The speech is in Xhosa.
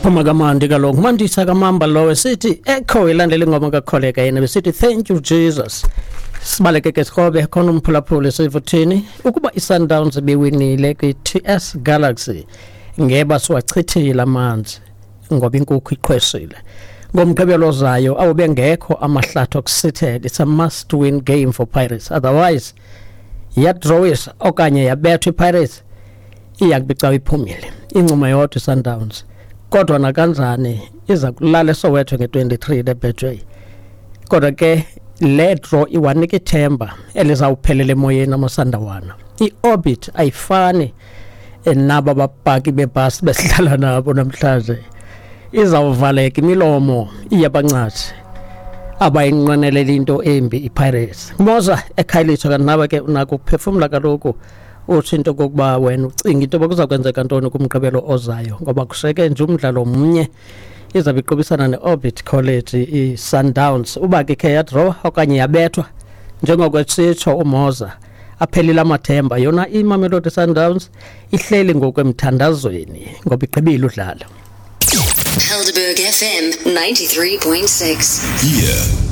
Phuma kamandi kaloku, Mandisa kamamba lowo sithi echo ilandela ingoma kakholeka yena besithi thank you Jesus. Sibaleke ke sikrobe khona umphulaphuli sivuthini ukuba iSundowns ibiwinile kwi-TS Galaxy ngeba siwachithile amanzi ngoba inkukhu iqhwesile. Ngomgqibelo ozayo awubengekho amahlathi okusithela. It's a must win game for Pirates, otherwise yadrawisa okanye yabethwa iPirates iya kubicawa iphumile incuma yodwa iSundowns. Kodwa nakanjani iza kulala eSoweto nge-23 leBetway. Kodwa ke le draw iwanika ithemba elizawuphelela emoyeni amasandawana. I-Orbit ayifani naba bapaki bebhasi besihlala nabo namhlanje. Izawuvaleka imilomo iyabancathi abayinqwenelela into embi iPirates. Moza ekhayelitsha kanti nawe ke unako ukuphefumla kaloku utsho into kokuba wena ucinga into yoba kuza kwenzeka ntoni kumgqibelo ozayo ngoba kusheke nje umdlalo mnye izabe iqubisana ne-Orbit College i-Sundowns. Uba ke ikhe yadraw okanye yabethwa njengoko esitsho uMoza aphelile amathemba, yona iMamelodi Sundowns ihleli ngokwemthandazweni ngoba igqibile udlala. Helderberg FM 93.6. Here